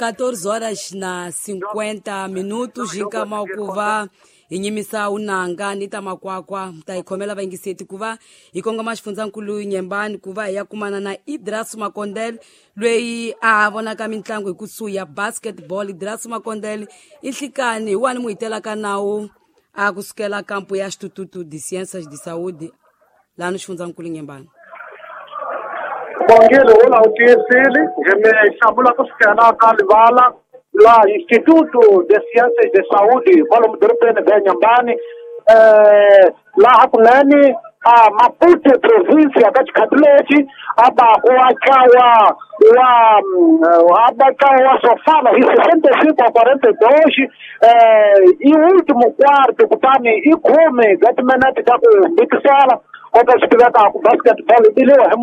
14 horas na 50 minutos hinkama ku va hi nyimisa unanga ni ta makwakwa ta hi khomela vayingiseti ku va hi kongoma xifundzankulu Nyembani ku va hi ya kumana na Idras Makondele loyi a vonaka mitlangu hi kusuhi ya basketball. Idras Makondele i nhlikani hi wani mu hitelaka nawu a kusukela kampo ya Instituto de Ciências de Saúde laha ni xifundzankulu Nyembani. Bongile wona u tiyisile hi mi hlamula ku sukela ka livala la Instituto de Ciências de Saúde kwalomu dorobeni bya Nyambani laha kunene a Maputo province ka xikhati lexi a baku wa ntlawa wa a ba ntlawa wa Sofala hi 65 a 42 i último quarto kutani i khume bya timinete ta ku mbikisela kota swi tiveka ku basketball yi biliwa hi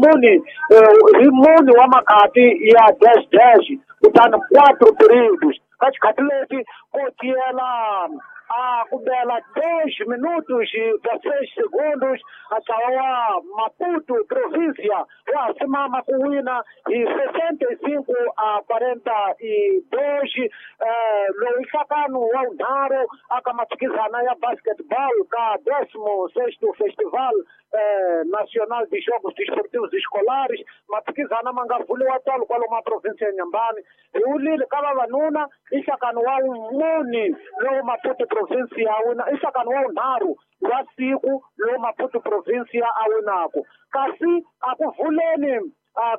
muni wa makhati ya dash dash kutani 4 periods ka xikhati lexi ko tiyela a ku bela 2 minutos bya 6 segundos a ntlawa wa Maputo provincia wa simama ku wina hi 65 a 42 lowu nhlakano wa vunharhu aka maphikizana ya basketball ka 16º Festival Nacional de Jogos Desportivos Escolares maphikizana ma nga vuliwa tolo kwalomu a province ya Nyambani hi wulile ka vavanuna i nhlakano wa muni lowu Maputo province ya wina i nhlakano wa vunharhu wa siku lowu Maputo province ya a winaku kasi a ku vuleni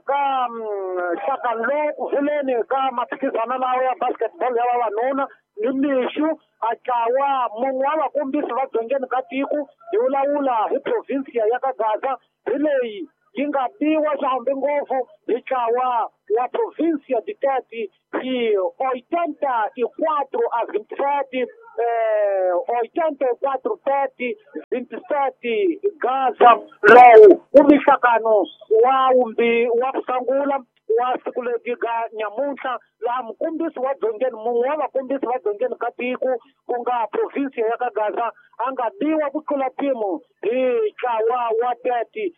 ka nhlakano lowu ku vuleni ka maphikizana lawa ya basketball ya vavanuna ni mixu a ntlawa mun'we wa vakombisi va dzongeni ka tiko hi vulavula hi provinsia ya ka Gaza hi leyi yi nga biwa swihambi ngopfu hi ntlawa wa provinsia Ditete hi 84 a 27 84 30 27 Gaza lowu u mihlakano wa wa ku sungula wa siku leti ga nyamuntlha laha mukombisi wa dzongeni mun'we wa vakombisi va dzongeni ka tiko ku nga provinsia ya ka Gaza a nga biwa ku tlula mpimo hi ntlawa wa 30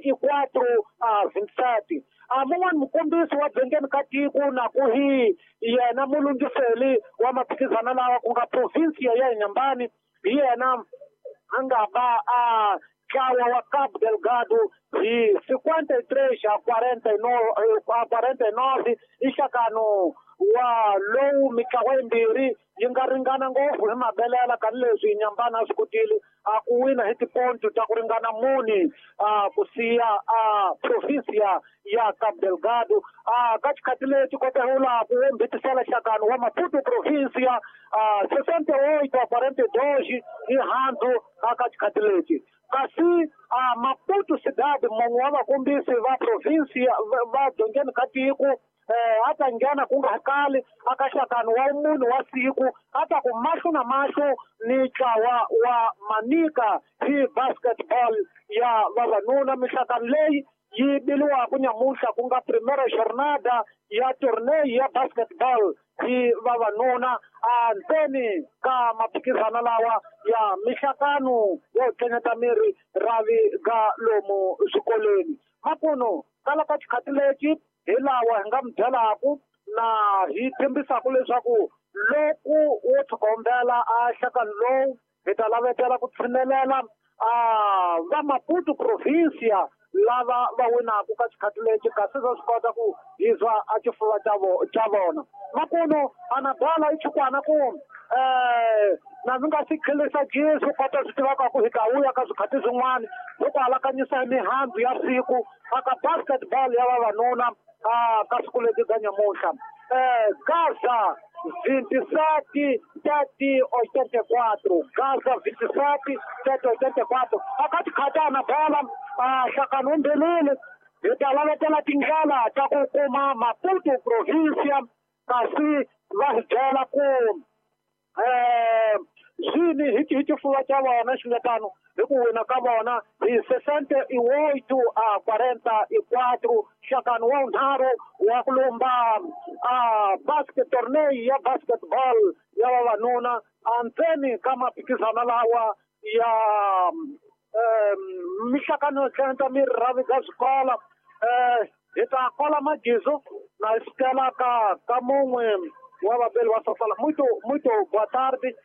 hi 84 a 27 a mun'wani mukombisi wa dzongeni ka tiko na ku hi yena mulungiseli wa maphikizana lawa ku nga provinsia ya Nyambani hi yena a nga ba a ntlawa wa Cabo Delgado hi 53 a 49 i nhlakano wa lowu mitlawa yimbirhi yi nga ringana ngopfu hi mabelela tanihileswi Nyambani a swi kotile a ku wina hi tiponto ta ku ringana muni a ku siya a provinsia ya Cabo Delgado a ka xikhati lexi kotehula ku mbitisela nhlakano wa Maputo provinsia a 68 a 42 hi handzu a ka xikhati lexi kasi a Maputo Cidade mun'we wa vakombisi va provinsia va dzongeni ka tiko a ta nghena ku nga kali aka nhlakano wa munhu wa siku a ta ku mahlo na mahlo ni ntlawa wa Manica hi basketball ya vavanuna mihlakano leyi yi biliwaku nyamuntlha ku nga primera jornada ya torneo ya basketball hi vavanuna a ntseni ka maphikizana lawa ya mihlakano yo tlenyeta miri ravi ga lomu swikolweni makuno kala ka xikhati lexi hi lawa hi nga mi byelaku na hi tshembisaku leswaku loko wo tshikombela a nhlakano lowu hi ta lavetela ku tshinelela a va Maputo provincia lava va winaku ka xikhati lexi kasi va swi kota ku hizwa a xifuva xa vona makuno anabala i chukwana ku na mi nga swi khelisa Jesu kota swi tivaka ku hi ta vuya ka swikhati swin'wana loko alakanyisa hi mihandzu ya siku aka basketball ya vavanuna a ka siku leti ga nyamuntlha Gaza 27 7 84 Gaza 27 7 84 aka xikhati bola a nhlakano wu hi ta lavetela tindlela ta ku kuma Maputo provincia kasi va hi byela ku swini hi xifuva xa vona xi nga tano hi ku wina ka vona hi 68 a 44 nhlakano wa vunharhu wa ku lumba a basket torneo ya basketball ya vavanuna a ntseni ka maphikizana lawa ya mihlakano yo tlhenta miri ravi ga swikola hi ta kola magizo Na sukela ka mun'we wa vabeli wa Sofala. Muito, muito boa tarde.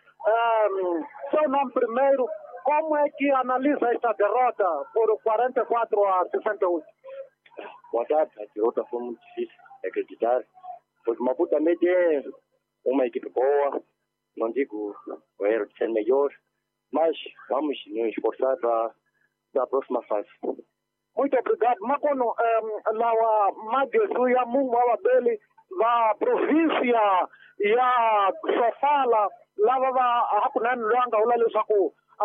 Seu nome primeiro, como é que analisa esta derrota por 44-68? Boa tarde, a derrota foi muito difícil de acreditar, porque Maputo também tem uma equipe boa, não digo o erro de ser melhor, mas vamos nos esforçar para a próxima fase. Muito obrigado. Makono, lawa magesu ya mungu wa vabeli va província ya Sofala lava va hakunene loyi a nga vula leswaku a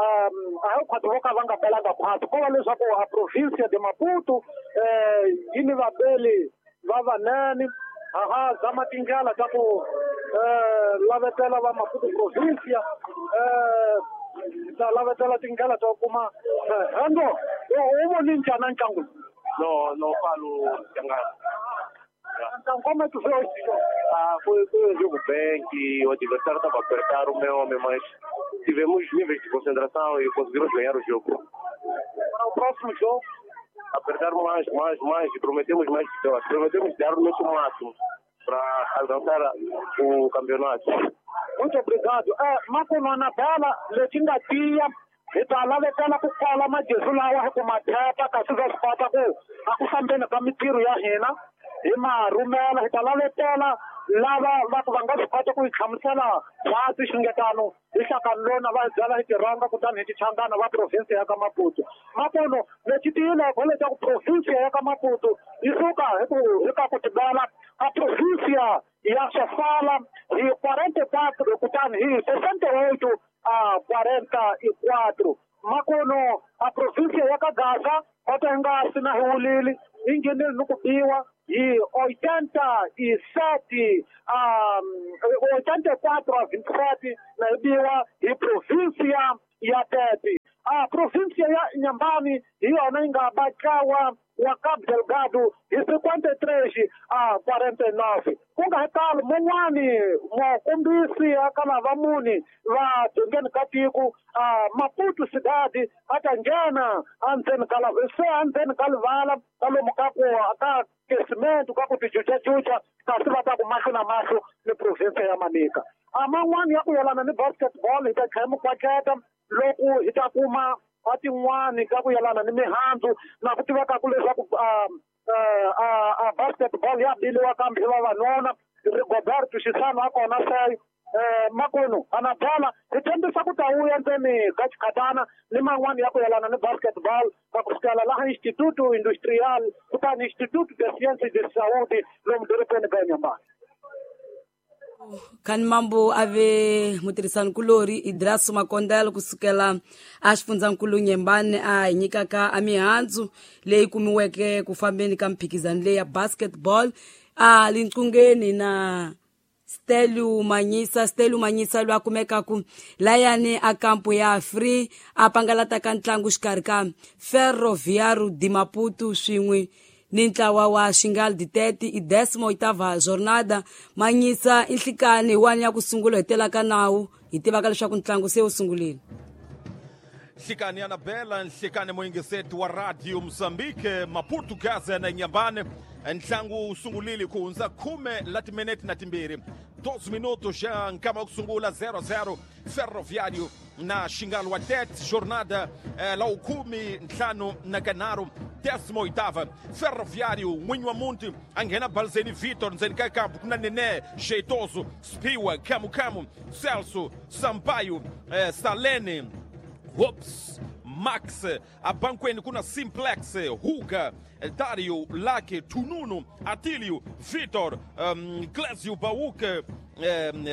hi khwati vo ka va nga belanga khwati, ko va leswaku a província de Maputo yi ni vabeli va vanene. Aha, zama tindlela ta ku lavetela va Maputo província, ta lavetela tindlela ta ku kuma ando u voni njhani ntlangu? Não, não falo Changana. Então, como é que foi este jogo? Ah, foi um jogo bem que o adversário estava a apertar o meu homem, mas tivemos níveis de concentração e conseguimos ganhar o jogo. Para o próximo jogo? Apertar mais, mais, mais e prometemos mais vitórias. Prometemos dar o nosso máximo para alcançar o campeonato. Muito obrigado. Makono Anabela, lexi nga tiya hi ta lavetela ku kwala magezu lawa hi ku mathepa, kasi va swi kota ku a ku fambeni ka mintirho ya hina hi ma rhumela. Hi ta lavetela lava va ku va nga swi kota ku hi hlamusela khwatsi xingetano hi hlakani lona va hi byala hi tirhonga kutani hi tichangana va province ya ka Maputo. Makono, lexi tiyileko leswaku province ya ka Maputo yi suka hi ku hi ka ku tibela a província ya Sofala hi 44 kutani hi 68-44. Makono, a província ya ka Gaza kota hi nga si na hi wulile yi nghenile ni ku biwa hi 87 84-27 na yi biwa hi província ya Tete. A província ya Inhambane hi yona yi nga batlawa wa Cabo Delgado hi 53-49. Ku nga talo mun'wani mukombisi a ka lava muni va dzongeni ka tiko Maputo Cidade a ta nghena endzeni ka se endzeni ka livala ka lomu ka ku ka kesimento ka ku tijujajuja, kasi va ta ku mahlo na mahlo ni province ya Manica. A man'wani ya ku yelana ni basketball hi ta tlhela mikwaketa loko hi ta kuma a tin'wani ka ku yelana ni mihandzu na ku tiveka ku leswaku a basketball ya biliwa kambe hi vavanuna. Rigoberto Xisano a kona se Makono Anabela hi tshembisa ku ta vuya ndzeni ka xikhatana ni man'wani ya ku yelana ni basketball ka ku sukela laha Instituto Industrial kutani Instituto de Ciências de Saúde lomu dorobeni ka Inhambane. Khani mambo ave mutirhisanikulori Idraso Makondelo kusukela a xifundzankulu Nyembane a hi nyikaka a mihandzu leyi kumiweke ku fambeni ka mphikizano leyi ya basketball. A linqungeni na Stelu Manyisa, Stelu Manyisa loyi a kumekaku layani a kampo ya Free a pangalataka ntlangu xikarhi ka Ferroviário de Maputo swin'we ni ntlawa wa Xingal Ditete i 18ª jornada. Manyisa i nhlikani hi wani ya ku sungula hi telaka nawu hi tivaka leswaku ntlangu se wu sungulile. Nhlikani Anabela, nhlikani muyingiseti wa Radio Mozambique, Maputo Gaza na Inhambane. Ntlangu wu sungulile ku hundza 10 la timinete na timbirhi, 12 minutos já nkama wa ku sungula 0-0 Ferroviário na Xingal wa Tete, jornada la 15 na kanharhu 18ª. Ferroviário n'winyi wa muti a nghena Balzeni Vitor ndzeni ka kampu ku na Nene Jeitoso Spiwa Kamukamu Celso Sampaio Salene Hops Max. Abankweni kuna Simplex Huga Dario Lake Tununu Atilio Vitor Clésio Bauke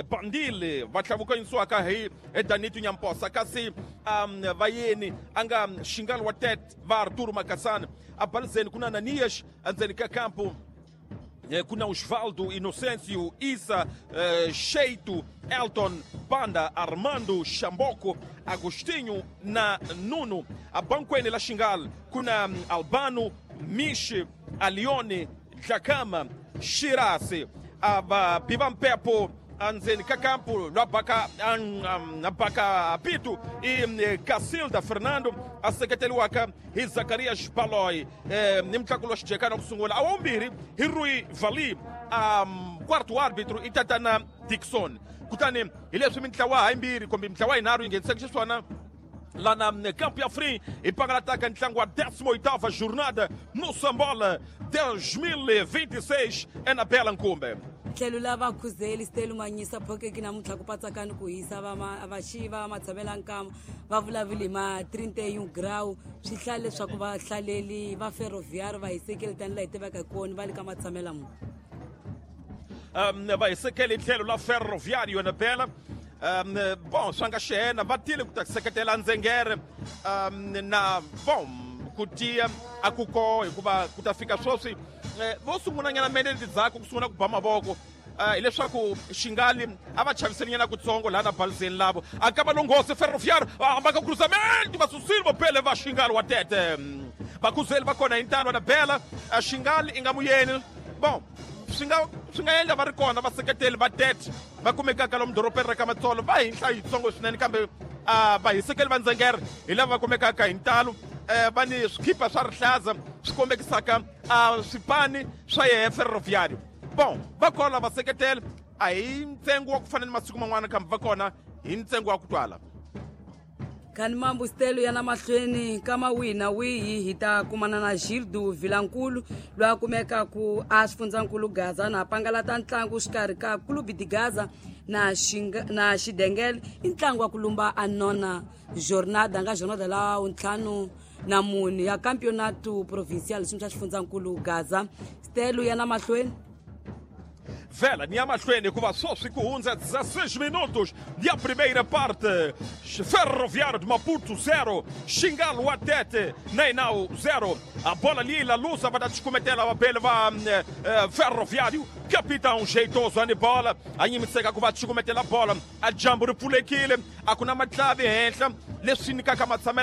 Bandile va tlhavukanyisiwaka hi Danito Nyamposa, kasi vayeni a nga Xingal wa Tete va Arturo Makasana. Abalizeni kuna Nanias endzeni ka kampu kuna Osvaldo Inocêncio Isa Sheito Elton Panda Armando Xamboko Agostinho na Nuno. Abankweni la Xingal kuna Albano Mishi Alione Dlakama Shirase aba Biba Mpepo andzeni ka kampu lwabaka abaka apito i Cacilda Fernando a seketeriwaka hi Zacarias Baloi ni mutlangi wa xijekana ku sungula a wa vumbirhi hi Rui Vali Quarto árbitro i tatana Dixon. Kutani hi leswi mintlawa hayimbirhi kumbe mintlawa yinharhu yi nghenisaka xiswona lá na Campo Free e pangalataka ntlangu wa 18ª jornada no Sambola 2026 é na Bela Nkumbe. Tlhelo la vakhuzeli stelu manyisa phokeki namuntlha ku patsakani ku hisa vaxiva matshamela nkama va vulavuli hi ma 31 grau swi hlaya leswaku vahlaleli va ferroviário va hisekele tani laha hi tivaka hi kona va le ka matshamela munhu. Va hisekele tlhelo la ferroviário na Bela. Bom swa nga xena va tile ku ta seketela ndzengere na bom ku tiya a ku ko hikuva ku ta fika sweswi vo sungulanyana mene letidzhaku ku sungula ku ba mavoko hileswaku xingali a va chaviselinyana kutsongo laha na balizeni lavo a ka va longhosi ferroviário va hamba ka cruzamento va susile vopele va xingali wa tete vakhuzeli va kona hi ntalo na Bela xingali i nga muyeni. Bom swi nga endla va ri kona vaseketeli va tete va kumekaka lomu dorobeni ra ka Matsolo va hi nhlayo yitsongo swinene kambe vahisekeli va ndzengere hi lava va kumekaka hi ntalo va ni swikhipa swa rihlaza swi kombekisaka swipani swa yehe ferroviário. Bom va kona vaseketeli a hi ntsengo wa ku fana ni masiku man'wana kambe va kona hi ntsengo wa ku twala. Khani mambu stelo ya na mahlweni kama wihi na wihi hi ta kumana na Gildo Vilankulu loyi a kumekaku a xifundzankulu Gaza na pangalata ntlangu xikarhi ka Clube de Gaza na na Xidengele i ntlangu wa ku lumba a nona jornada nga jornada la 54 ya campeonato provincial xi xa xifundzankulu Gaza. Stelo ya na mahlweni Vela ni mahlweni hikuva sweswi ku hundza 16 minutos ya primeira parte. Ferroviário de Maputo 0, Xingalo wa Tete Nainau 0. A bola ali la lusa va ta descometela va bele va Ferroviário. Capitão jeitoso ani bola a nyimiseka ku va chukumetela bola a jambu ri pfulekile a ku na matlavi henhla leswi nyikaka matshamelo.